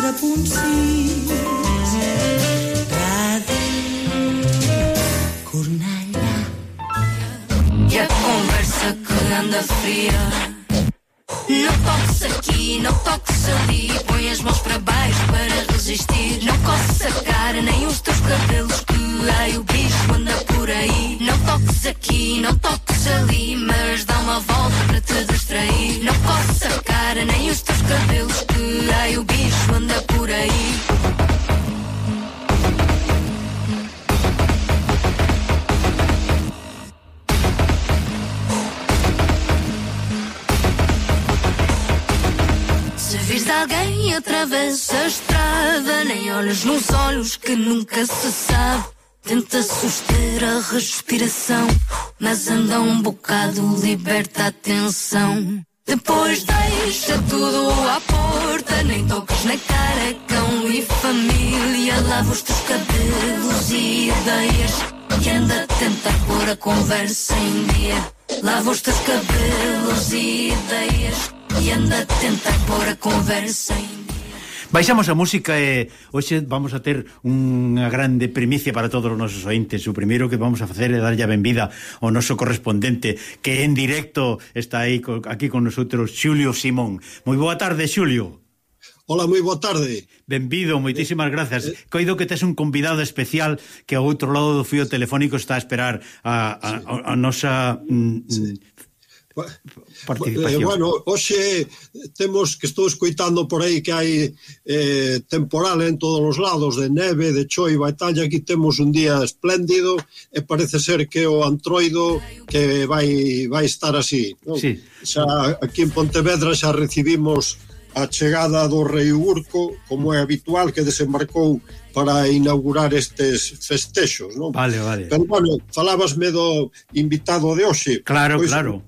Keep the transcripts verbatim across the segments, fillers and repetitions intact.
a punxís. Ràdio Cornellà. I a conversa que anda fria. No toques aqui, não toques ali. Põe as mãos para baixo para resistir. Não coces a cara, nem os teus cabelos, que ai, o bicho anda por aí. Não toques aqui, não toques ali, mas dá uma volta para te distrair. Não coces a cara, nem os teus cabelos, que ai, o bicho anda por aí. Se vires alguém atravessa a estrada, nem olhos nos olhos que nunca se sabe. Tenta suster a respiração, mas anda um bocado, liberta a tensão. Depois deixa tudo à porta, nem toques na cara, cão e família. Lava os teus cabelos e ideias e anda a tentar pôr a conversa em dia. Lava os teus cabelos e ideias e anda a tentar pôr a conversa em dia. Baixamos a música e hoxe vamos a ter unha grande primicia para todos os nosos ointes. O primeiro que vamos a facer é darlle a benvida ao noso correspondente que en directo está aí aquí con nosotros, Xulio Simón. Moi boa tarde, Xulio. Hola, moi boa tarde. Benvido, moitísimas grazas. Coido que tes un convidado especial que ao outro lado do fío telefónico está a esperar a, a, a, a nosa sí. participación. Eh, bueno, hoxe temos que estou escoitando por aí que hai eh, temporal en todos os lados, de neve, de choiva e tal, e aquí temos un día espléndido e parece ser que o antroido que vai vai estar así, non? Sí. Xa aquí en Pontevedra xa recibimos a chegada do rei Urco, como é habitual, que desembarcou para inaugurar estes festexos, non? Vale, vale. Pero, bueno, falabasme do invitado de hoxe. Claro, pois, claro.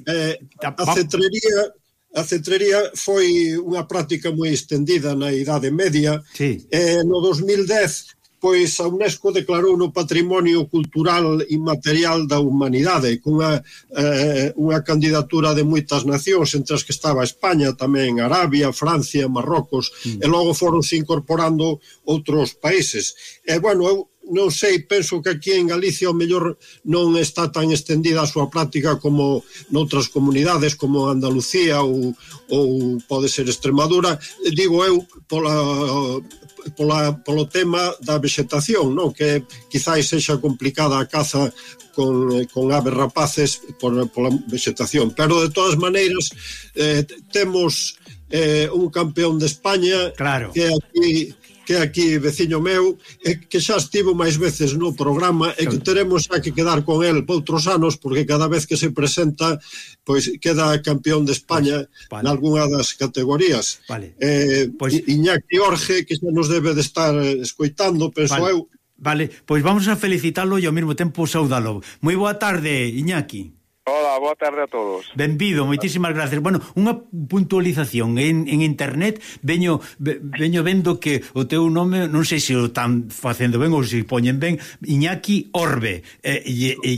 Eh, a cetrería a cetrería foi unha práctica moi estendida na Idade Media. Sí. Eh, no dos mil dez, pois a UNESCO declarou no Patrimonio Cultural Inmaterial da Humanidade, cunha eh, unha candidatura de moitas nacións, entre as que estaba España, tamén Arabia, Francia, Marrocos, mm. e logo foronse incorporando outros países. E, bueno, eu non sei, penso que aquí en Galicia o mellor non está tan estendida a súa práctica como noutras comunidades como Andalucía ou, ou pode ser Extremadura. Digo eu pola, pola, polo tema da vexetación, non? Que quizáis sexa complicada a caza con, con aves rapaces por, pola vexetación, pero de todas maneiras eh, temos eh, un campeón de España, claro, que aquí que aquí veciño meu, e que xa estivo máis veces no programa e que teremos xa que quedar con el poutros anos, porque cada vez que se presenta pois queda campeón de España vale. Nalgúna das categorías. Vale. Eh, pois... Iñaki Orge, que xa nos debe de estar escoitando, penso vale. eu. Vale, pois vamos a felicitalo e ao mesmo tempo saudalo. Moi boa tarde, Iñaki. Hola, boa tarde a todos. Benvido, moitísimas gracias. Bueno, unha puntualización en, en internet, veño veño vendo que o teu nome, non sei se o están facendo ben ou se poñen ben, Iñaki Orbe, eh, e, e,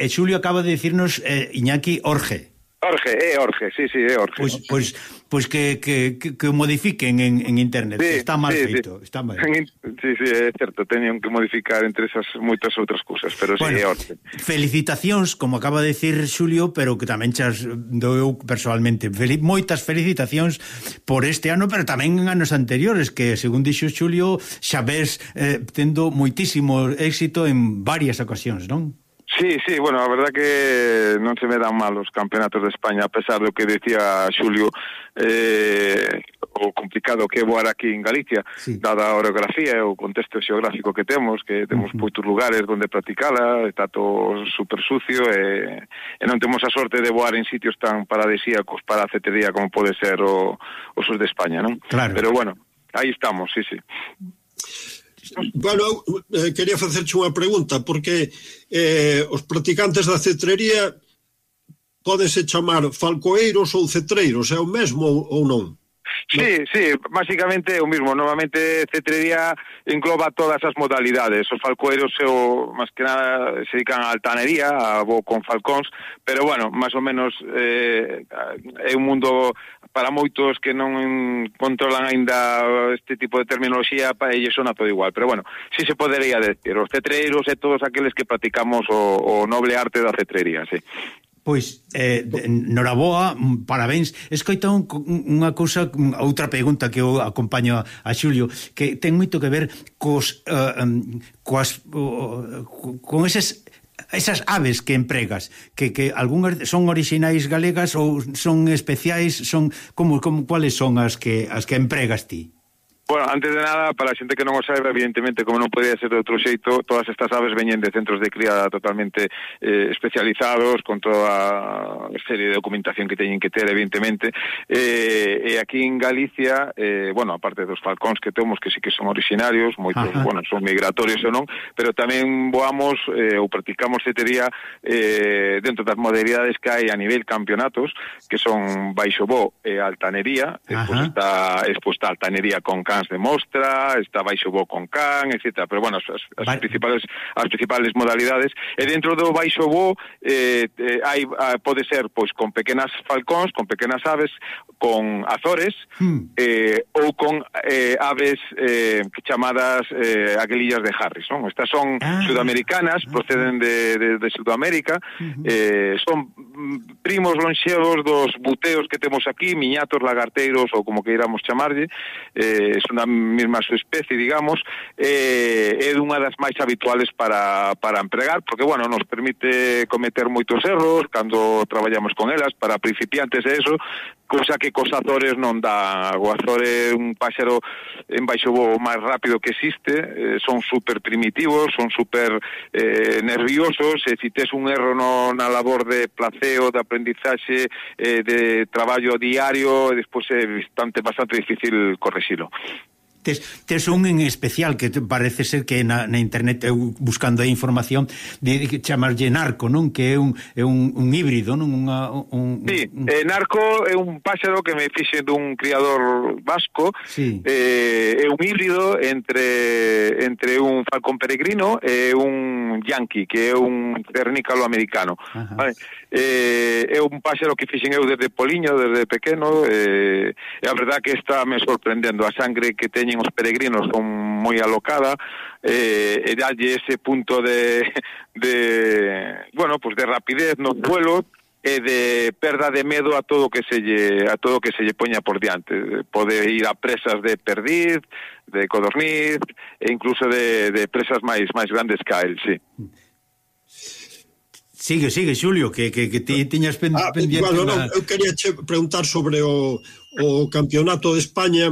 e Xulio acaba de decirnos eh, Iñaki Orge. Orge, é Orge, sí, sí, é Orge. Pois, pois, pois que, que, que, que modifiquen en, en internet, sí, está mal sí, feito, sí. Está mal. Sí, sí, é certo, tenían que modificar entre esas moitas outras cousas, pero bueno, sí, é Orge. Felicitacións, como acaba de decir Xulio, pero que tamén chas do eu personalmente. Fel- moitas felicitacións por este ano, pero tamén en anos anteriores, que, según dixo Xulio, xa ves eh, tendo moitísimo éxito en varias ocasións, non? Sí, sí, bueno, a verdad que non se me dan mal os campeonatos de España, a pesar do que decía Xulio, eh, o complicado que é voar aquí en Galicia, sí. Dada a orografía e o contexto xeográfico que temos, que temos uh-huh. moitos lugares onde practicala, está todo super sucio, e, e non temos a sorte de voar en sitios tan paradisíacos para a cetrería como pode ser o, o sur de España, non? Claro. Pero bueno, aí estamos, sí, sí. Bueno, eh, quería facerche unha pregunta, porque eh, os practicantes da cetrería pódense chamar falcoeiros ou cetreiros, é o mesmo ou non? Sí, sí, básicamente é o mismo. Normalmente cetrería engloba todas as modalidades. Os falcoeiros o, máis que nada se dedican a altanería, a voo con falcóns, pero bueno, máis ou menos eh, é un mundo para moitos que non controlan aínda este tipo de terminoloxía, para eles sona todo igual, pero bueno, si se podería decir, os cetreiros e todos aqueles que practicamos o, o noble arte da cetrería, sí. Pois, eh, noraboa, parabéns. Escoita un, unha cousa, outra pregunta que eu acompaño a, a Xulio, que ten moito que ver cos, uh, coas, uh, con esas esas aves que empregas, que, que algunhas son orixinais galegas ou son especiais, son como, como cuáles son as que as que empregas ti? Bueno, antes de nada, para a xente que non o saiba, evidentemente, como non podía ser de outro xeito, todas estas aves veñen de centros de cría totalmente eh, especializados, con toda a serie de documentación que teñen que ter, evidentemente. Eh, e aquí en Galicia, eh, bueno, aparte dos falcóns que temos, que sí que son orixinarios, moitos, Ajá. bueno, son migratorios ou non, pero tamén voamos eh, ou practicamos cetería eh, dentro das modalidades que hai a nivel campeonatos, que son baixo bo e altanería, despois está exposta altanería con can de mostra, está baixo bo con can, etcétera. Pero bueno, as, as vale. principales as principales modalidades. E dentro do baixo bo eh, eh, hai pode ser pois con pequenas falcóns, con pequenas aves, con azores hmm. eh, ou con eh, aves eh, chamadas eh, aguilillas de Harris, non? Estas son ah. sudamericanas, proceden de, de, de Sudamérica, uh-huh. eh, son primos lonxevos dos buteos que temos aquí, miñatos, lagarteiros ou como queiramos chamarlle, eh, son da mesma subespecie, digamos, eh, é unha das máis habituales para, para empregar, porque, bueno, nos permite cometer moitos erros cando traballamos con elas, para principiantes e eso, cousa que cos azores non dá. O azor é un páxaro en baixo voo máis rápido que existe, eh, son super primitivos, son super eh, nerviosos, e se tes un erro no, na labor de placeo, de aprendizaxe, eh, de traballo diario, e despois é bastante, bastante difícil correxilo. Tes, tes un en especial que parece ser que na, na internet eu buscando a información de, de chamarlle narco, non? Que é un, é un, un híbrido, non? Unha, un, sí, un... Eh, narco é un páxaro que me fixe dun criador vasco, sí. eh, é un híbrido entre entre un falcón peregrino e un yankee, que é un cernícalo americano. Vale? Eh, é un páxaro que fixen eu desde poliño, desde pequeno, eh, e a verdad que está me sorprendendo. A sangre que teñen os peregrinos son moi alocada, eh, e dalle ese punto de, de bueno, pues de rapidez no vuelo e de perda de medo a todo que se lle, a todo que se lle poña por diante. Pode ir a presas de perdiz, de codorniz e incluso de, de presas máis máis grandes que a él, sí. Sigue, sigue, Xulio, que, que, que ti tiñas pen, ah, pendiente. Bueno, una... non, eu quería che preguntar sobre o, o Campeonato de España.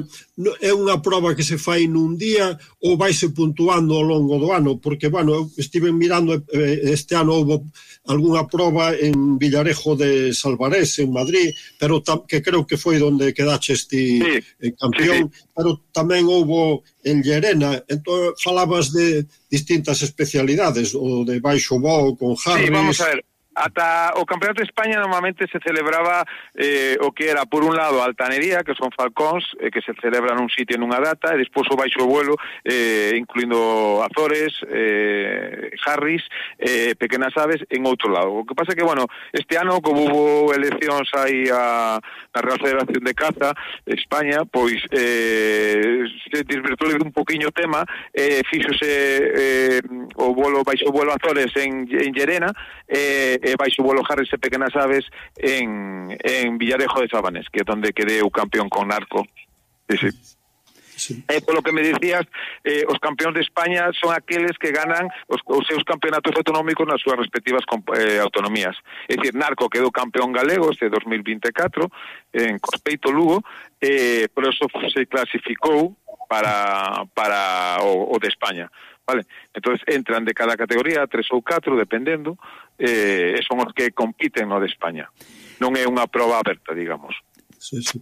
É unha proba que se fai nun día ou vaise puntuando ao longo do ano? Porque, bueno, eu estive mirando, este ano houve algunha proba en Villarejo de Salvarés, en Madrid, pero tam, que creo que foi onde quedache este sí, eh, campeón, sí, sí. Pero tamén houve en Llerena. Entón, falabas de distintas especialidades, o de baixo bo con Harris. Sí, vamos a ver. Ata o Campeonato de España normalmente se celebraba eh, o que era, por un lado, a altanería, que son falcóns, eh, que se celebra nun sitio nunha data, e despois o baixo vuelo, eh, incluindo azores, eh, Harris, eh, pequenas aves, en outro lado. O que pasa que, bueno, este ano, como hubo eleccións aí a, a Real Federación de Caza, España, pois eh, se desvirtuou un poquinho o tema, eh, fíxose eh, o vuelo baixo vuelo azores en, en Llerena, eh, e baixo vuelo Harris e pequenas aves en, en Villarejo de Sabanés, que é onde quedé o campeón con narco. Sí, sí. Sí. Eh, polo que me dicías, eh, os campeóns de España son aqueles que ganan os, os seus campeonatos autonómicos nas súas respectivas eh, autonomías. É dicir, Narco quedou campeón galego este dos mil vinte e catro en Cospeito, Lugo, eh, por eso se clasificou para, para o, o de España. Vale, entonces entran de cada categoría tres ou catro, dependendo, eh, son os que compiten no de España. Non é unha proba aberta, digamos. Sí, sí.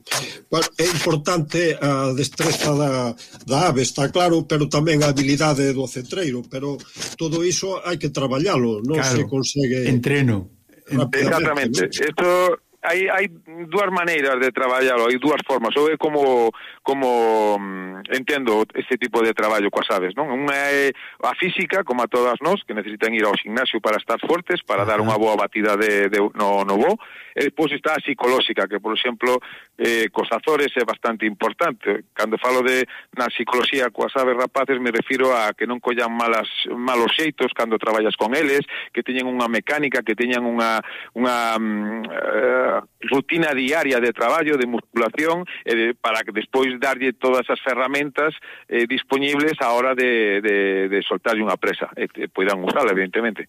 Bueno, é importante a destreza da, da ave, está claro, pero tamén a habilidade do cetreiro, pero todo iso hai que traballalo, non claro, se consegue... Entreno. Exactamente. Isto... hai, hai dúas maneiras de traballar, hai dúas formas, ou é como como entendo este tipo de traballo coas aves, non? Unha é a física, como a todas nós, que necesitan ir ao gimnasio para estar fortes, para dar unha boa batida de, de, no, no voo, e depois está a psicolóxica, que, por exemplo, eh, cos azores é bastante importante. Cando falo de na psicología coas aves rapaces, me refiro a que non collan malas, malos xeitos cando traballas con eles, que teñen unha mecánica, que teñan unha, unha uh, rutina diaria de traballo, de musculación, eh, de, para que despois darlle todas as ferramentas eh, disponibles a hora de, de, de soltarlle unha presa, e eh, poidan usala, evidentemente.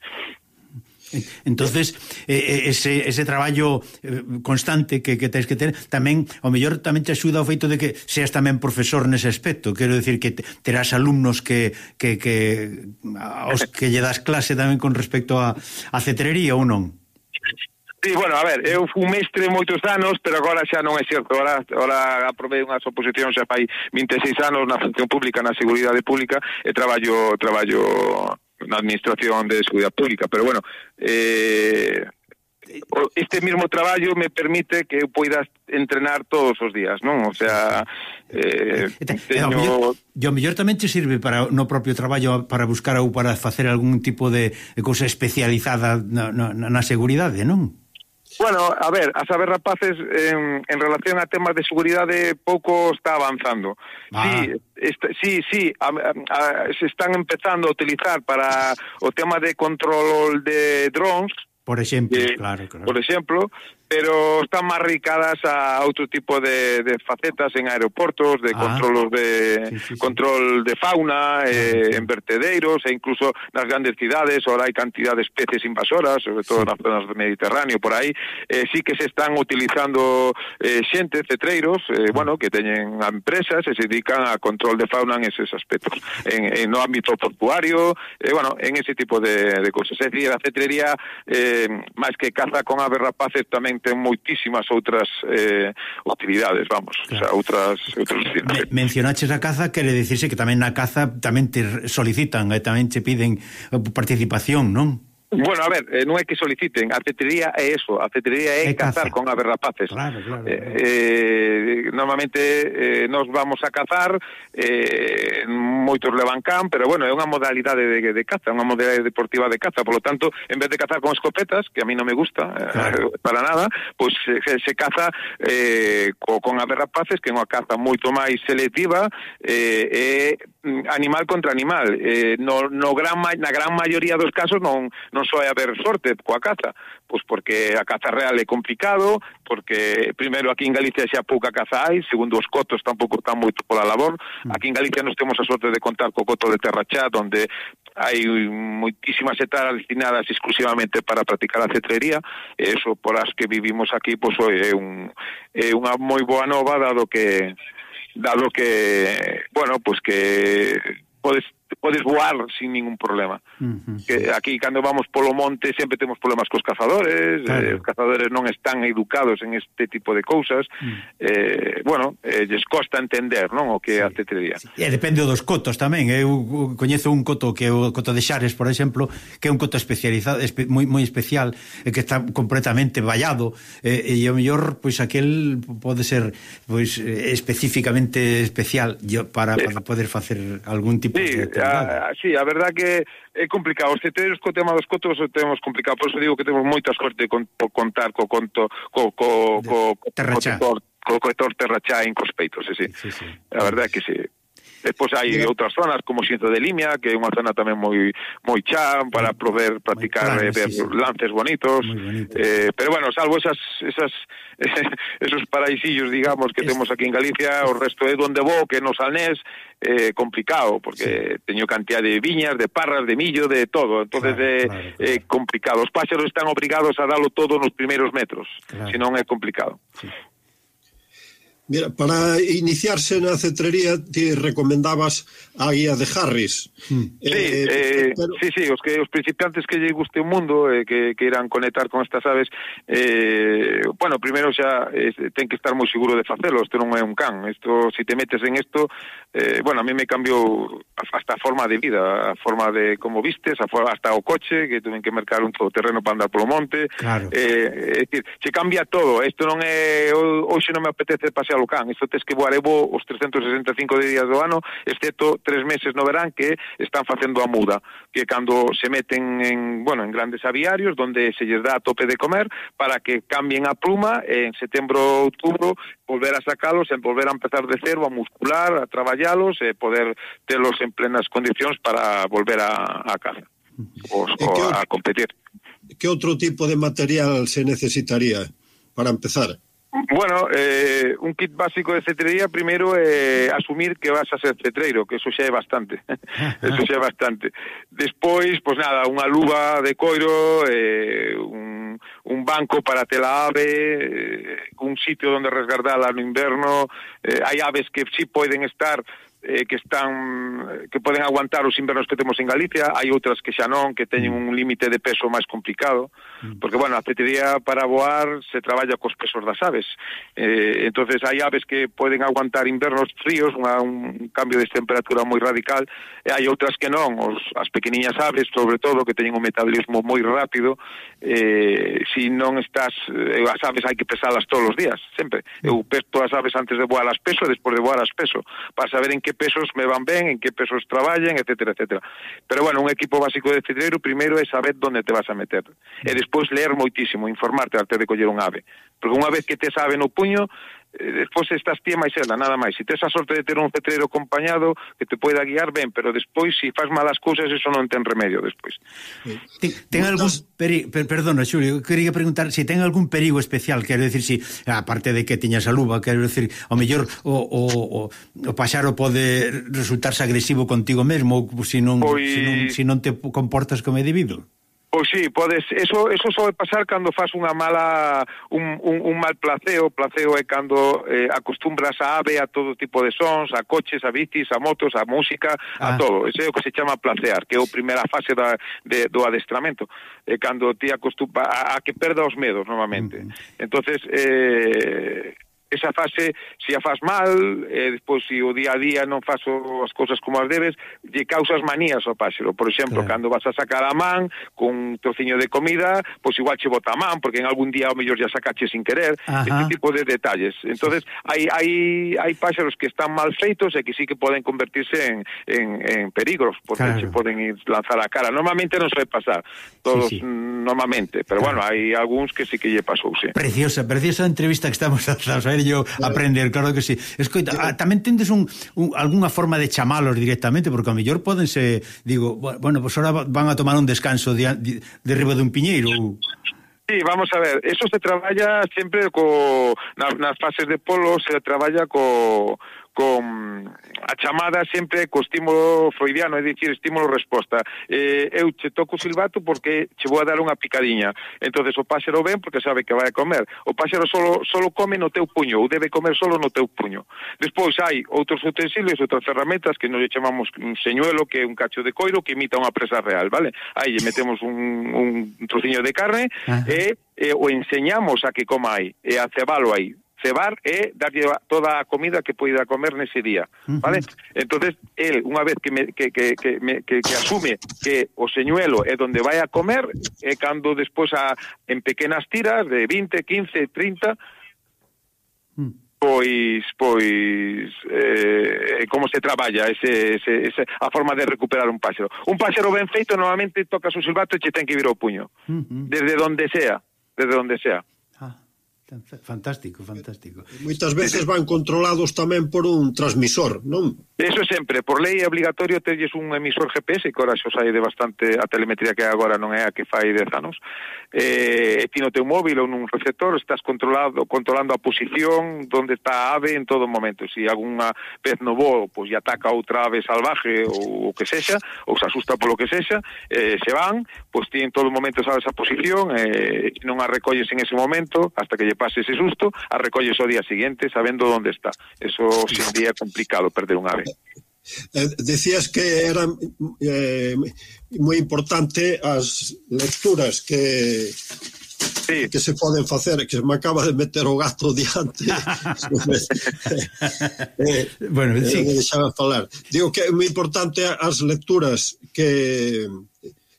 Entonces eh, ese, ese traballo eh, constante que, que tens que ter tamén, ao mellor tamén te axuda o feito de que seas tamén profesor nese aspecto, quero decir que terás alumnos que, que, que aos que lle das clase tamén con respecto a, a cetrería ou non? Sí, bueno, a ver, eu fui mestre moitos anos, pero agora xa non é certo. Agora, agora aprobei unhas oposicións xa fai vinte e seis anos na función pública, na seguridade pública, e traballo traballo na administración de seguridade pública, pero bueno, eh, este mismo traballo me permite que eu poida entrenar todos os días, non? O sea, eh, teño... E o mellor tamén te sirve para no propio traballo para buscar ou para facer algún tipo de cousa especializada na, na, na seguridade, non? Bueno, a ver, as aves rapaces en, en relación a temas de seguridade pouco está avanzando. Ah. Sí, este, sí, sí, a, a, se están empezando a utilizar para o tema de control de drones, por exemplo, eh, claro, claro. Por exemplo, pero están máis ricadas a outro tipo de, de facetas en aeroportos, de ah, control de sí, sí, control sí. de fauna, eh, en vertedeiros, e incluso nas grandes cidades, ahora hai cantidad de especies invasoras, sobre todo sí. nas zonas do Mediterráneo, por aí, eh, sí que se están utilizando eh, xente, cetreiros, eh, ah. bueno, que teñen empresas e se dedican a control de fauna en eses aspectos, en, en no ámbito portuario, eh, bueno, en ese tipo de, de cosas. É dicir, a cetrería, eh, máis que caza con aves rapaces, tamén ten moitísimas outras eh, utilidades, vamos, claro. O sea, outras, outras Me, mencionaches a caza, quere dicirse que tamén na caza tamén te solicitan e tamén te piden participación, non? Bueno, a ver, eh, non é que soliciten, a cetrería é eso, a cetrería é, é cazar con aves rapaces. Claro, claro, claro. Eh, eh, normalmente eh, nos vamos a cazar, eh, moitos levan can, pero bueno, é unha modalidade de, de caza, unha modalidade deportiva de caza, por lo tanto, en vez de cazar con escopetas, que a mí non me gusta, claro. eh, para nada, pois pues, se, se caza eh, co, con aves rapaces, que é unha caza moito máis selectiva, eh, eh, animal contra animal. Eh, no, no gran, na gran maioría dos casos non non só é haber sorte coa caza, pois porque a caza real é complicado, porque primeiro aquí en Galicia xa pouca caza hai, segundo os cotos tampouco están moito pola labor. Aquí en Galicia nos temos a sorte de contar co coto de Terrachá, onde hai moitísimas hectáreas destinadas exclusivamente para practicar a cetrería, e eso por as que vivimos aquí, pois é un é unha moi boa nova, dado que dado que, bueno, pois que podes podes voar sin ningún problema. Uh-huh. Que aquí cando vamos polo monte sempre temos problemas cos cazadores, claro. eh, os cazadores non están educados en este tipo de cousas. Uh-huh. Eh, bueno, eh, lles costa entender, non, o que é sí. a cetrería. Sí. E depende dos cotos tamén. Eu coñezo un coto que é o coto de Xares, por exemplo, que é un coto especializado, espe, moi moi especial, e que está completamente vallado, eh, e o mellor pois aquel pode ser pois especificamente especial para, sí. para poder facer algún tipo sí. de A, sí, a verdad que é complicado. Os cetreiros co tema dos cotos o temos complicado, por eso digo que temos moita sorte con, con contar co conto co co co Terrachá. co co cotor Terrachá en cos peitos, sí, sí. sí, sí. A verdad que sí. Despois hai yeah. outras zonas como Xinzo de Limia, que é unha zona tamén moi moi chá para poder practicar e ver sí, sí. lances bonitos, eh, pero bueno, salvo esas esas esos paraísillos, digamos, que es... temos aquí en Galicia, o resto é donde vou, que no Salnés, eh, complicado, porque sí. teño cantidad de viñas, de parras, de millo, de todo, entonces é claro, claro, claro. eh, complicado. Os páxaros están obrigados a dalo todo nos primeiros metros, claro. senón é complicado. Sí. Mira, para iniciarse na cetrería ti recomendabas a guía de Harris. Mm. Sí, eh, eh, pero... sí, sí, os que os principiantes que lle guste o mundo, eh, que, que irán conectar con estas aves, eh, bueno, primeiro xa eh, ten que estar moi seguro de facelo, isto non é un can, isto, si te metes en isto, eh, bueno, a mí me cambiou hasta a forma de vida, a forma de como vistes, a forma, hasta o coche, que tuven que mercar un todoterreno para andar polo monte, claro. eh, é dicir, se cambia todo, isto non é, hoxe non me apetece pasear o can, isto tes que voar evo os trescentos sesenta e cinco días do ano, excepto tres meses no verán que están facendo a muda, que cando se meten en, bueno, en grandes aviarios donde se lles dá a tope de comer para que cambien a pluma en setembro, outubro, volver a sacalos e volver a empezar de cero, a muscular, a traballalos e poder telos en plenas condicións para volver a, a caza ou a competir. Que outro tipo de material se necesitaría para empezar? Bueno, eh, un kit básico de cetrería primeiro é eh, asumir que vas a ser cetreiro, que eso xa é bastante. Eso xa é bastante. Despois, pois nada, unha luva de coiro, eh, un, un banco para ter a ave, eh, un sitio onde resguardala no inverno. Eh, hai aves que sí poden estar eh, que están que poden aguantar os invernos que temos en Galicia, hai outras que xa non, que teñen un límite de peso máis complicado, porque, bueno, a cetrería para voar se traballa cos pesos das aves, eh, entonces hai aves que poden aguantar invernos fríos, unha, un cambio de temperatura moi radical, e hai outras que non, os, as pequeniñas aves, sobre todo, que teñen un metabolismo moi rápido, eh, si non estás, eh, as aves hai que pesalas todos os días, sempre, eu peso as aves antes de voar as peso e despois de voar as peso, para saber en que pesos me van ben, en que pesos traballen, etcétera, etcétera. Pero, bueno, un equipo básico de cetreiro, primeiro é saber onde te vas a meter. E despois ler moitísimo, informarte antes de coller un ave. Porque unha vez que tes ave no puño, eh, despois estás ti máis ela, nada máis. Se tes a sorte de ter un cetreiro acompañado que te poida guiar ben, pero despois, se si faz malas cousas, eso non ten remedio despois. Ten, ten algún perigo, per, perdona, Xulio, quería preguntar se si ten algún perigo especial, quero decir, si, aparte de que tiñas a luva, quero decir, ao mellor o, o, o, o paxaro pode resultarse agresivo contigo mesmo, se non, pois... se non, se non te comportas como é debido. Pois sí, podes, eso eso soe pasar cando faz unha mala un, un, un mal placeo, placeo é cando eh, acostumbras a ave a todo tipo de sons, a coches, a bicis, a motos, a música, ah. a todo. Ese é o que se chama placear, que é a primeira fase da, de, do adestramento, é cando ti acostumbra a, a que perda os medos novamente. Mm-hmm. Entonces, eh esa fase, se a faz mal, e despois se o día a día non faço as cousas como as debes, lle causas manías ao páxaro. Por exemplo, claro, cando vas a sacar a man con un trociño de comida, pois igual che bota a man, porque en algún día ao mellor ya sacache sin querer. Ajá. Este tipo de detalles. Entonces, hai hai hai páxaros que están mal feitos e que sí que poden convertirse en, en, en peligros, porque claro, se poden ir lanzar a cara. Normalmente non suele pasar, todos sí, sí. normalmente, pero claro, bueno, hai algúns que sí que lle pasou, sí. Preciosa, preciosa entrevista que estamos a saber yo claro, aprender, claro que sí. Escoita, ah, tamén tendes un, un, algunha forma de chamalos directamente, porque a mellor podense, digo, bueno, pues ahora van a tomar un descanso de, de, de riba dun piñeiro. Sí, vamos a ver, eso se traballa sempre co, nas, nas fases de polo se traballa co con a chamada sempre co estímulo freudiano, é dicir, estímulo-resposta. Eh, eu che toco o silbato porque che vou a dar unha picadiña. Entonces o páxaro ven porque sabe que vai a comer. O páxaro solo, solo come no teu puño, ou debe comer solo no teu puño. Despois hai outros utensilios, outras ferramentas que nos chamamos un señuelo, que é un cacho de coiro que imita unha presa real, vale? Aí lle metemos un, un trociño de carne e, e o enseñamos a que coma aí, e a cebalo aí. Cebar é darlle toda a comida que poida comer nese día, vale? Uh-huh. Entonces, el, unha vez que, me, que, que, que, me, que, que asume que o señuelo é donde vai a comer, é cando despois a, en pequenas tiras de vinte, quince, trinta, mm. pois pois eh, como se traballa ese, ese, ese, a forma de recuperar un páxaro. Un páxaro ben feito normalmente toca o silbato e che ten que vir ao puño, uh-huh, desde donde sea, desde donde sea. Fantástico, fantástico. Moitas veces van controlados tamén por un transmisor, non? Eso sempre, por lei é obligatorio terlles un emisor G P S, que ahora xo sai de bastante, a telemetría que agora non é a que fai dez anos, eh, ti no teu móvil ou nun receptor estás controlado, controlando a posición onde está a ave en todo momento. Se si algunha pez no voo, pois, lle ataca outra ave salvaje ou o que sexa, ou se asusta polo que sexa, eh, se van, pois ti en todo momento sabes a posición, eh, non a recolles en ese momento, hasta que lle pase ese susto, a recolles o día siguiente sabendo onde está. Eso, sin día, é complicado perder un ave. Eh, decías que era eh, moi importante as lecturas que sí. que se poden facer, que me acaba de meter o gato diante. eh, bueno, sí. eh, deixaba falar. Digo que é moi importante as lecturas que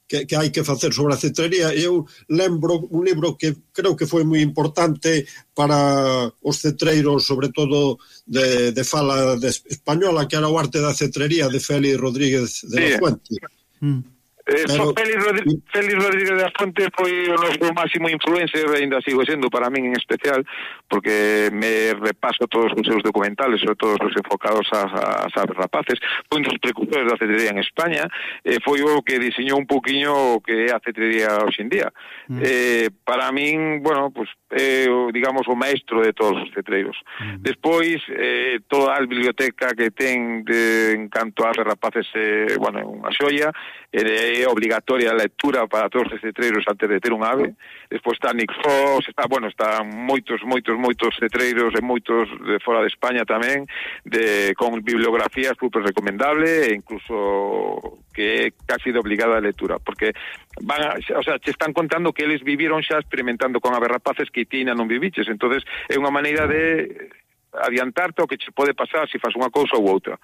que, que hai que facer sobre a cetrería. Eu lembro un libro que creo que foi moi importante para os cetreiros, sobre todo de, de fala de española, que era o arte da cetrería de Félix Rodríguez de sí. la Fuente. Mm. Eh, Pero, Félix, Rodríguez, Félix Rodríguez de la Fuente foi o noso máximo influencer, ainda sigo sendo para min en especial, porque me repaso todos os seus documentales, sobre todo os enfocados a, a aves rapaces. Foi un dos precursores da cetrería en España, eh, foi o que diseñou un poquinho o que é a cetrería hoxe en día. Mm. Eh, para min, bueno, pues, eh, digamos, o maestro de todos os cetreiros. Mm. Despois, eh, toda a biblioteca que ten de, en canto a aves rapaces, eh, bueno, unha xoia, é obligatoria a lectura para todos os cetreiros antes de ter un ave. Despois está Nick Fox, está, bueno, está moitos, moitos, moitos cetreiros e moitos de fora de España tamén, de, con bibliografía super recomendable, e incluso que é casi de obligada a lectura, porque van a, o sea, te están contando que eles viviron xa experimentando con aves rapaces que ti non viviches, entonces é unha maneira de adiantarte o que che pode pasar se fas unha cousa ou outra.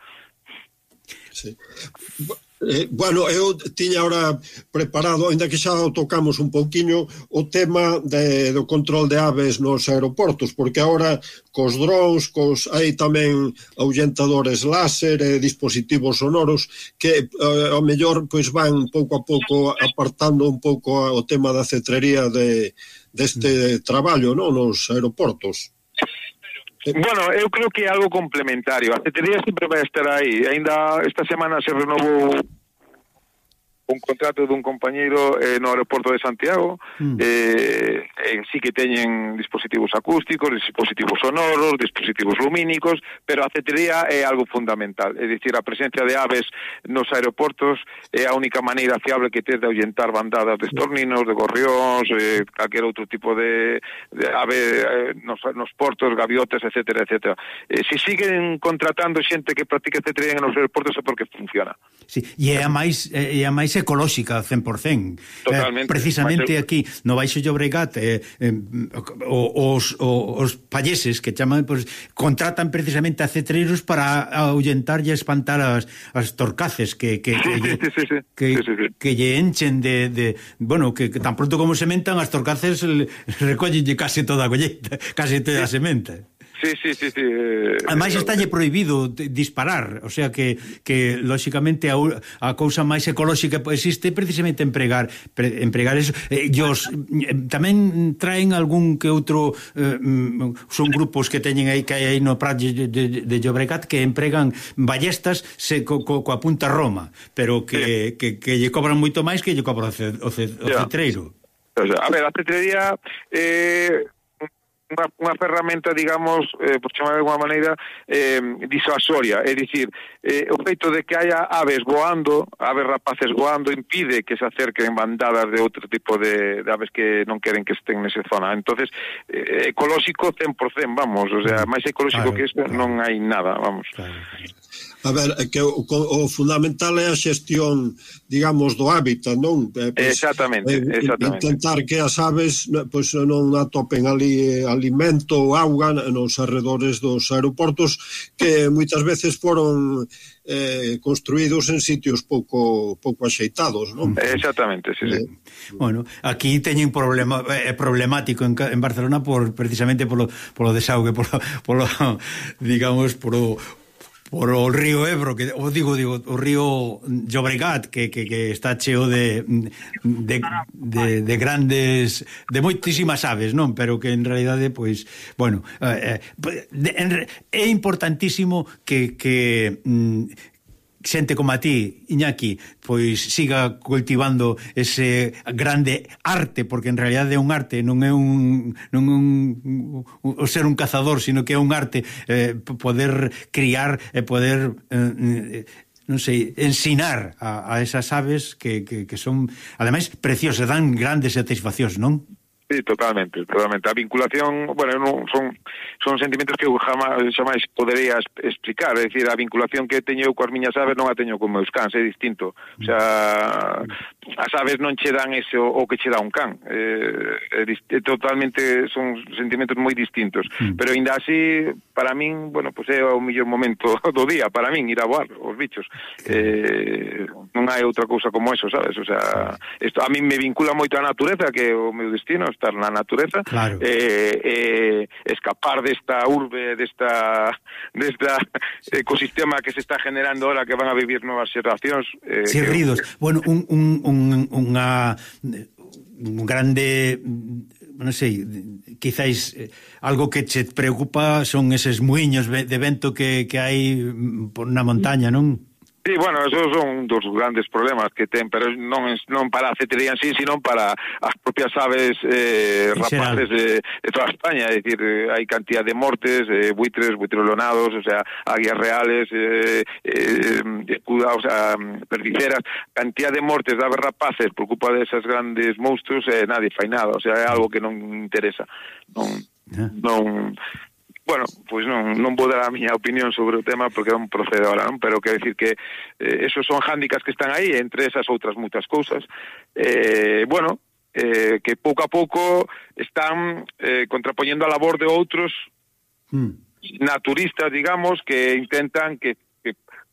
Sí. Eh, bueno, eu tiña ahora preparado, ainda que xa o tocamos un pouquiño, o tema de, do control de aves nos aeroportos, porque agora cos drones, cos, hai tamén ahuyentadores láser e dispositivos sonoros que eh, ao mellor pois van pouco a pouco apartando un pouco o tema da cetrería de, deste traballo, non, nos aeroportos. Bueno, eu creo que é algo complementario. A cetrería sempre vai estar aí. Ainda esta semana se renovou un contrato dun compañeiro eh, no aeroporto de Santiago, mm. eh, eh, sí que teñen dispositivos acústicos, dispositivos sonoros, dispositivos lumínicos, pero a cetrería é algo fundamental, é dicir, a presencia de aves nos aeroportos é a única maneira fiable que tes de ahuyentar bandadas de estorninos, de gorrións, eh, calquer outro tipo de, de ave eh, nos, nos portos, gaviotas, etcétera, etcétera. Eh, se siguen contratando xente que practica cetrería nos aeroportos é porque funciona. Sí, e é a máis, é a máis ecolóxica cen por cen. Totalmente. Eh, precisamente aquí no Baixo Llobregat eh, eh, os, os palleses que chaman, pues, contratan precisamente a cetreiros para ahuyentar e espantar as, as torcaces que que, que, sí, sí, sí, sí. que, sí, sí, sí. que lle enchen de, de bueno, que, que tan pronto como sementan as torcaces recollelle case toda a colleita, case toda a sementa. Sí, sí, sí, sí. Eh, Ademais estalle prohibido disparar, o sea que, que lóxicamente a, a cousa máis ecolóxica existe precisamente empregar pre, empregar eso. Eh, os, eh, tamén traen algún que outro eh, son grupos que teñen aí que hai aí no Prat de, de, de Llobregat que empregan ballestas se, co, co, coa punta Roma, pero que, sí. que, que lle cobran moito máis que lle cobra o, ce, o, ce, o yeah. cetreiro. A ver, a cetrería eh Unha, unha ferramenta, digamos, eh, por chamar de alguma maneira, eh, disuasoria, é dicir, eh, o feito de que haya aves voando, aves rapaces voando, impide que se acerquen bandadas de outro tipo de, de aves que non queren que estén nesa zona. Entonces, eh, ecolóxico cen por cen, vamos, o sea, máis ecolóxico claro, que isto claro. non hai nada, vamos. Claro, claro. A ver, que o, o fundamental é a xestión, digamos, do hábitat, non? Eh, pues, exactamente, eh, exactamente. Intentar que as aves pues, non atopen ali alimento ou auga nos arredores dos aeroportos que moitas veces foron eh, construídos en sitios pouco pouco axeitados, non? Exactamente, sí, sí. Eh, bueno, aquí teñen problema é eh, problemático en, en Barcelona por precisamente polo polo desaugue, polo, polo digamos, polo o, o río Ebro, que o digo, digo, o río Llobregat, que, que, que está cheo de, de, de, de grandes, de moitísimas aves, non? Pero que en realidade, pois, bueno, eh, eh, é importantísimo que, que mm, xente como a ti, Iñaki, pois siga cultivando ese grande arte, porque en realidade é un arte, non é un non é un, o ser un cazador, sino que é un arte, eh, poder criar e poder eh, non sei, ensinar a, a esas aves que, que, que son, ademais, preciosas, dan grandes satisfaccións, non? Sí, totalmente, totalmente. A vinculación, bueno, non, son son sentimentos que eu jamás, jamás podería explicar, é dicir, a vinculación que teño eu coas miñas aves non a teño con meus cans, é distinto. O sea, as aves non che dan ese o, o que che dá un can. Eh, é, é totalmente, son sentimentos moi distintos. Mm. Pero ainda así, para min, bueno, pues é o mellor momento do día, para min, ir a voar os bichos. Eh, non hai outra cousa como eso, sabes? O sea, esto a min me vincula moito a natureza, que é o meu destino, estar na natureza, claro. eh, eh, escapar desta urbe, desta desta ecosistema que se está generando ahora, que van a vivir novas xeracións. Eh, sí, ridos. Que... Bueno, un, un, un, unha un grande, non sei, quizáis eh, algo que che preocupa son eses muiños de vento que, que hai na montaña, non? Sí, bueno, esos son dos grandes problemas que ten, pero non non para a cetrería en sí, sino para as propias aves eh, rapaces de, de toda España, é dicir, hai cantidad de mortes, eh, buitres, buitrolonados, o sea, águias reales, eh, eh, o sea, perdiceras, cantidad de mortes de aves rapaces por culpa desas grandes monstruos, eh, nadie fai nada, o sea, é algo que non interesa, non... non Bueno, pois pues non, non vou dar a miña opinión sobre o tema porque non procede ahora, non? Pero quero decir que eh, esos son hándicaps que están aí, entre esas outras moitas cousas. Eh, bueno, eh, que pouco a pouco están eh, contrapoñendo a labor de outros mm. naturistas, digamos, que intentan que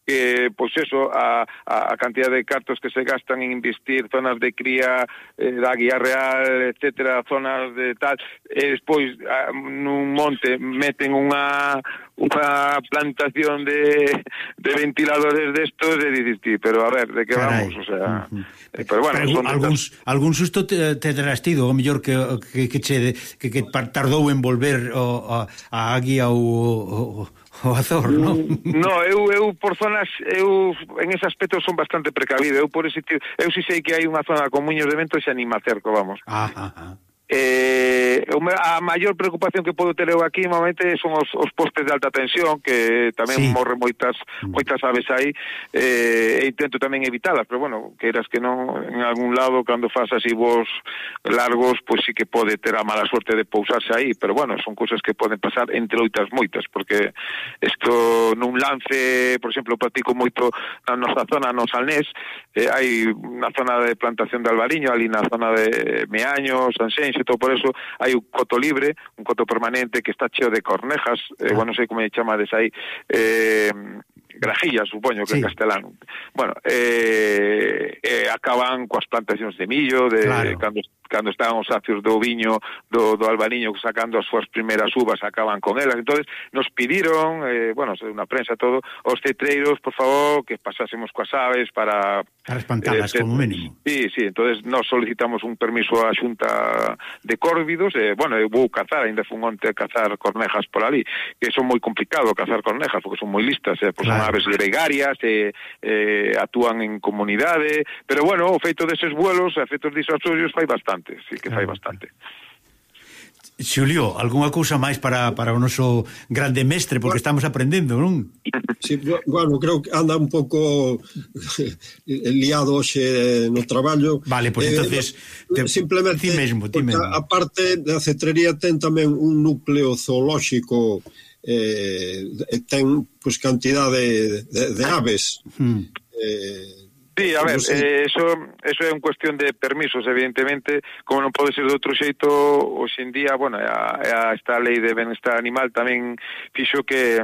que, pois eso, a, a cantidad de cartos que se gastan en investir zonas de cría eh, da guía real, etcétera, zonas de tal, e despois a, nun monte meten unha unha plantación de, de ventiladores destos e dices, pero a ver, de que Caray. vamos, o sea, uh-huh. eh, pero bueno, pero son algún, estas... algún susto te, te terás tido, o mellor que, que, que, che, que, que tardou en volver o, a, a águia ou o, o azor, non? No, eu, eu por zonas, eu en ese aspecto son bastante precavido, eu por ese eu si sei que hai unha zona con muños de vento e xa ni me acerco, vamos. Ajá, ajá. Eh, a maior preocupación que podo ter eu aquí normalmente son os, os postes de alta tensión, que tamén sí. morren moitas moitas aves aí, eh, e intento tamén evitalas, pero bueno, queiras que non, en algún lado cando fas así voos largos, pois sí que pode ter a mala suerte de pousarse aí, pero bueno, son cousas que poden pasar entre outras moitas, porque isto nun lance, por exemplo, practico moito na nosa zona, no Salnés, eh, hai unha zona de plantación de albariño, ali na zona de Meaño, Sanxenxo, todo por eso hai un coto libre, un coto permanente que está cheo de cornejas, eh, bueno, non sei como chamades aí, eh, grajillas, supoño que sí. en castelán. Bueno, eh, eh, acaban coas plantacións de millo, de claro. cando cando estaban os sacios do viño, do, do albariño sacando as súas primeiras uvas, acaban con elas. Entonces nos pediron, eh, bueno, unha prensa todo, os cetreiros, por favor, que pasásemos coas aves para... Para espantalas, eh, como mínimo. Sí, sí, entonces nos solicitamos un permiso á Xunta de Córvidos, eh, bueno, eu vou cazar, ainda fun onte a cazar cornejas por ali, que son moi complicado cazar cornejas, porque son moi listas, eh, pues claro. son aves gregarias, eh, eh, actúan en comunidade, pero bueno, o feito deses vuelos, efectos disuasorios, fai bastante. Sí que fai bastante. Xulio, algunha cousa máis para, para o noso grande mestre, porque estamos aprendendo, non? Sí, bueno, creo que anda un pouco liado hoxe no traballo. Vale, pois pues entonces eh, te, simplemente, ti mesmo, ti mesmo. A parte da cetrería ten tamén un núcleo zoolóxico, eh, ten pois pues, cantidade de, de, de aves. Hmm. Eh, Sí, a ver, eh, eso, eso é un cuestión de permisos, evidentemente, como non pode ser de outro xeito, hoxe en día, bueno, a, a esta lei de benestar animal tamén fixo que,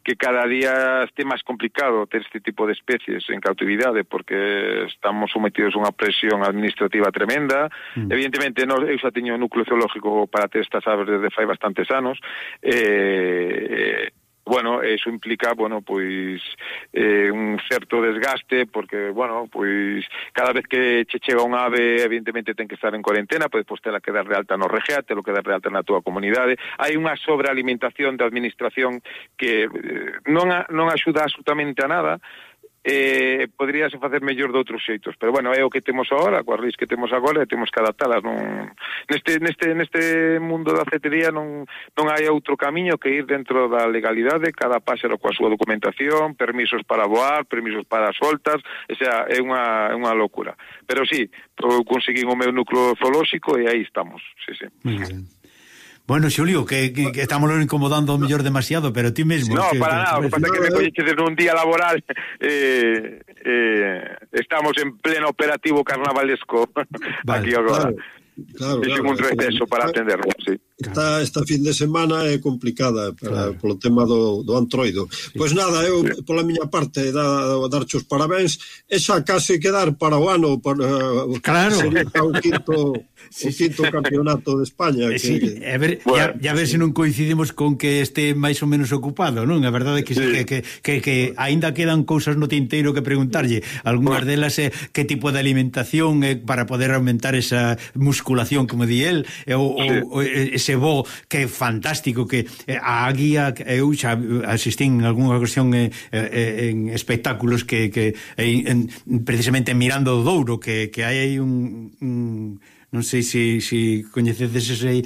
que cada día este máis complicado ter este tipo de especies en cautividade, porque estamos sometidos a unha presión administrativa tremenda. Mm. Evidentemente, no, eu xa teño un núcleo zoológico para ter estas aves desde fai bastantes anos, eh, bueno, eso implica, bueno, pois eh, un certo desgaste, porque, bueno, pois cada vez que che chega un ave, evidentemente ten que estar en cuarentena, pois pois tela que dar de alta no R G A, telo que dar de alta na túa comunidade. Hai unha sobrealimentación da administración que eh, non, a, non axuda absolutamente a nada. Eh, poderíase facer mellor de outros xeitos, pero bueno, é o que temos agora, coas leis que temos agora, e temos que adaptalas. Non, neste, neste, neste mundo da cetería non, non hai outro camiño que ir dentro da legalidade, cada páxaro coa súa documentación, permisos para voar, permisos para soltas, o sea, é unha, é unha locura. Pero sí, conseguín o meu núcleo zoolóxico e aí estamos, sí, sí. Muy bien. Bueno, Xulio, que, que, que estamos incomodando o mellor demasiado, pero ti mesmo... No, que, para nada, o que pasa é que me colleches en un día laboral, eh, eh, estamos en pleno operativo carnavalesco, vale, aquí agora. Claro, claro, claro, un receso para atenderlo, sí. Esta, esta fin de semana é complicada para, claro, polo tema do, do antroido. Sí. Pois nada, eu, sí, pola miña parte, da, darche os parabéns, e xa case quedar para o ano, para, claro, sería o quinto, sí, o quinto sí, campeonato de España. Que, sí, a ver, bueno, ya, ya ver se non coincidimos con que este máis ou menos ocupado, non? A verdade é que, sí, que, que, que, que aínda quedan cousas no tinteiro que preguntarlle. Algúnas bueno, delas é que tipo de alimentación é para poder aumentar esa musculación, como di él, ou, sí, ou ese bo que é fantástico, que a guía, eu xa asistín en algunha ocasión en, en espectáculos que, que en, precisamente Mirando o Douro, que, que hai un, un non sei se, se coñecedes ese,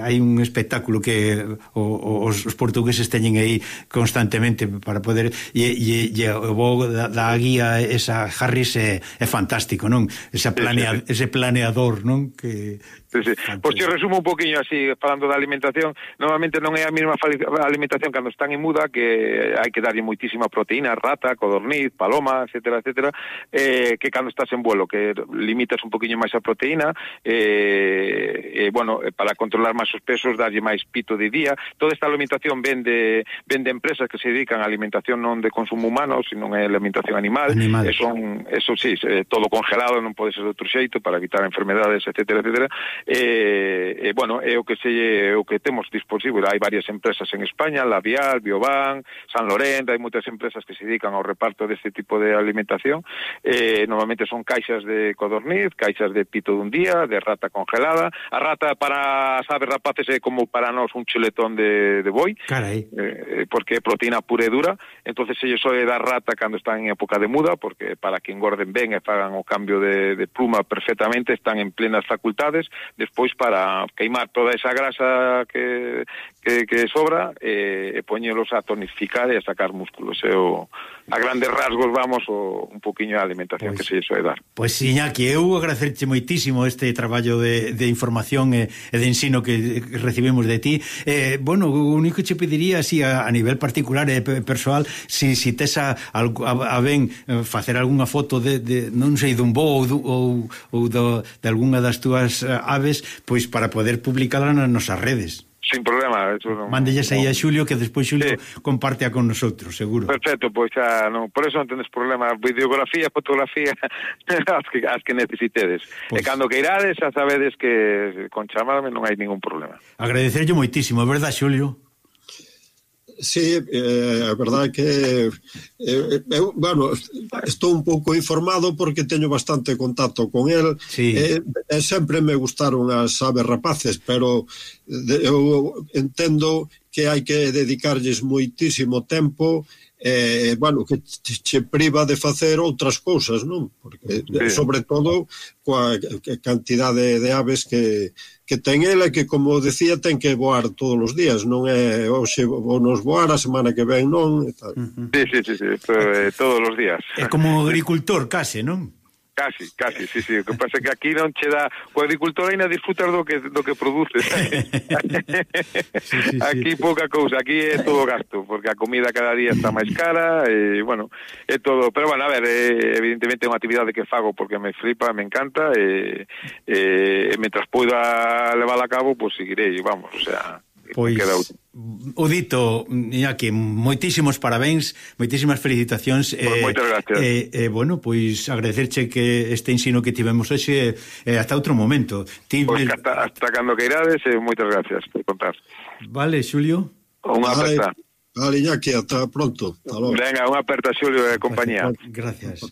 hai un espectáculo que o, os, os portugueses teñen aí constantemente para poder, e, e, e o bo da, da guía esa Harris é, é fantástico, non? Esa planea, sí, sí, ese planeador, non? Que sí, sí. Pois te resumo un poquinho así, falando da alimentación. Normalmente non é a mesma alimentación cando están en muda, que hai que darlle moitísima proteína, rata, codorniz, paloma, etcétera, etcétera, eh, que cando estás en vuelo, que limitas un poquinho máis a proteína, eh, eh, bueno, para controlar máis os pesos, darlle máis pito de día. Toda esta alimentación ven de, ven de empresas que se dedican a alimentación non de consumo humano, sino é alimentación animal, animal. E son, eso sí, todo congelado, non pode ser de outro xeito, para evitar enfermedades, etcétera, etcétera. Eh, eh, bueno, é o que se o que temos disposível. Hai varias empresas en España, Labial, Bioban, San Lorente, hai moitas empresas que se dedican ao reparto deste tipo de alimentación. Eh, normalmente son caixas de codorniz, caixas de pito dun día, de rata congelada. A rata para as aves rapaces é como para nós un chuletón de, de boi, eh, porque é proteína pura e dura. Entonces ellos soe dar rata cando están en época de muda, porque para que engorden ben e fagan o cambio de, de pluma perfectamente, están en plenas facultades. Despois para queimar toda esa grasa que, que, que sobra e, e poñelos a tonificar e a sacar músculos. E o, a grandes rasgos vamos o, un poquinho a alimentación pues, que se iso é dar. Pois pues, Iñaki, eu agradecerche moitísimo este traballo de, de información e, e de ensino que recibimos de ti. Eh, bueno, o único que che pediría así a, a nivel particular e persoal, si, si tes a, a, a ben facer algunha foto de, de non sei, dun bo ou, ou, ou do, de algunha das túas aves, pois para poder publicala nas nosas redes. Sin problema, eso non. Mándelles aí a Xulio, que despois Xulio sí, compartea con nosotros, seguro. Perfecto, pois xa, non, por eso non tendes problema, videografía, fotografía, as que, as que necesitedes. Pues, e cando que irades, xa sabedes que con chamarme non hai ningún problema. Agradecerlle moitísimo, é verdad, Xulio? Sí, eh, a verdade que eh, eu, bueno, estou un pouco informado porque teño bastante contacto con el, sí, e, e sempre me gustaron as aves rapaces, pero de, eu entendo que hai que dedicarlles moitísimo tempo, eh, bueno, que che priva de facer outras cousas, non? Porque, sí, sobre todo coa cantidade de aves que que ten ela, que, como decía, ten que voar todos os días, non é hoxe vou nos voar, a semana que ven non, e tal. Uh-huh. Sí, sí, sí, sí, é todos os días. É como agricultor, case, non? Casi, casi, sí, sí. O que pasa é que aquí non che dá... O agricultor ainda disfrutas do que, do que produces. Sí, sí, aquí sí, pouca cousa, aquí é todo gasto, porque a comida cada día está máis cara, e, bueno, é todo... Pero, bueno, a ver, é, evidentemente é unha actividade que fago porque me flipa, me encanta, e, e, e mentras poida levar a cabo, pois pues, seguirei, vamos, o sea... Pois, o dito, Iñaki, moitísimos parabéns, moitísimas felicitacións. Pues eh, moitas gracias. Eh, eh, bueno, pois agradecerche que este ensino que tivemos hoxe, eh, hasta outro momento. Pois pues me... hasta, hasta cando que irades, eh, moitas gracias por contar. Vale, Xulio. Unha aperta. Vale, Iñaki, ata pronto. Hasta logo. Venga, unha aperta, Xulio e compañía. Gracias.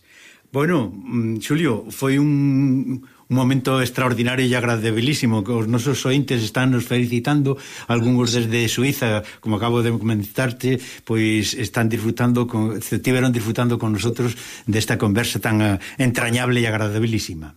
Bueno, Xulio, foi un, un momento extraordinario e agradabilísimo, que os nosos ointes están nos felicitando, algúns desde Suiza, como acabo de comentarte, pois están disfrutando con, estiveron disfrutando con nosotros desta conversa tan uh, entrañable e agradabilísima.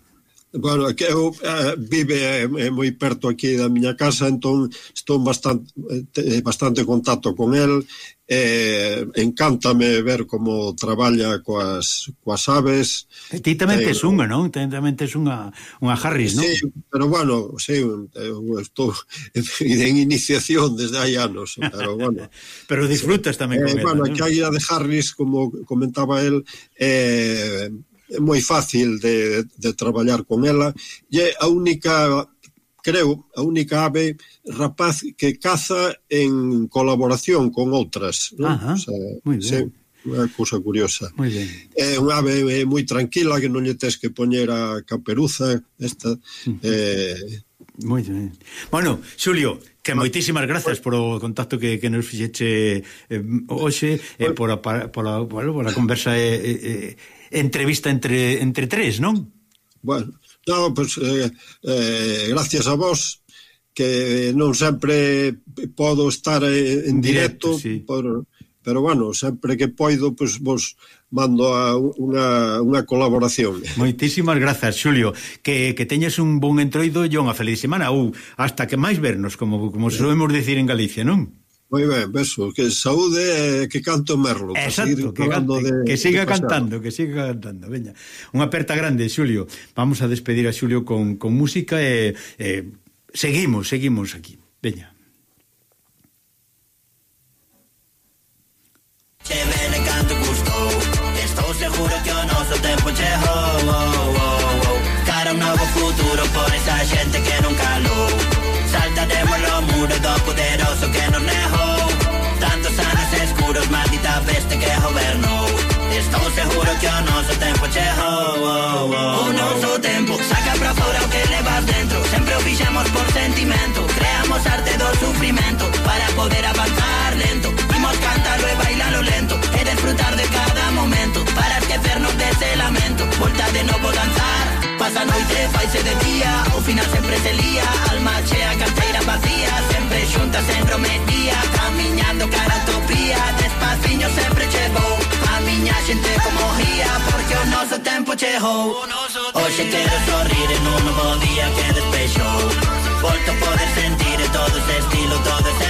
Bueno, que eu eh, vive eh, moi perto aquí da miña casa, entón estou bastante eh, bastante contacto con el. Eh, encántame ver como traballa coas, coas aves. E ti tamén eh, tes unha, non? Ti tamén tes unha, unha Harris, non? Sí, pero bueno, sí, eu estou en iniciación desde hai anos, pero bueno. Pero disfrutas sí. tamén con eh, ela, bueno, non? que a ida de Harris, como comentaba el, eh, é moi fácil de, de traballar con ela, e é a única, creo, a única ave rapaz que caza en colaboración con outras, non? Ajá, o sea, moi ben. Sí, unha cousa curiosa. Moi ben. É unha ave moi tranquila, que non lle tes que poñer a caperuza, esta. Uh-huh. eh... Moi ben. Bueno, Xulio, que moitísimas grazas por o contacto que, que nos fixeche eh, hoxe, e eh, por, a, por, a, bueno, por a conversa e eh, eh, entrevista entre, entre tres, non? Bueno, no, pues, eh, eh, gracias a vos, que non sempre podo estar en, en directo, directo sí. por, pero bueno, sempre que poido, pues, vos mando a unha, unha colaboración. Moitísimas grazas, Xulio, que, que teñes un bon entroido e unha feliz semana, ou hasta que máis vernos, como, como solemos decir en Galicia, non? Moi ben, beso, que saúde e que canto Merlo. Exacto, que, cante, de, que siga cantando, que siga cantando. Veña, unha aperta grande, Xulio. Vamos a despedir a Xulio con, con música e, e seguimos, seguimos aquí. Veña. Che bene canto gustou, estou seguro que o noso tempo chegou, oh, oh, oh. Cara un novo futuro por esa xente que non calou. Saltaremos o muro do poderoso que nos negou. Tantos anos escuros, maldita peste que gobernou. Estou seguro que o noso tempo chegou, oh, oh. O noso tempo saca pra fora o que levas dentro. Sempre o fixemos por sentimento. Creamos arte do sufrimento para poder avanzar lento. Imos cantarlo e bailalo lento e disfrutar de cada momento para esquecernos dese lamento. Volta de novo danzar. Pasa a noite, faise de día, ao final sempre se lía. Alma chea, carteira vacía, sempre xuntas en romería, camiñando cara a utopía. Despaciño sempre chegou a miña xente como ría, porque o noso tempo chegou. Hoxe quero sorrir en un novo día que despexou. Volto a poder sentir todo ese estilo, todo ese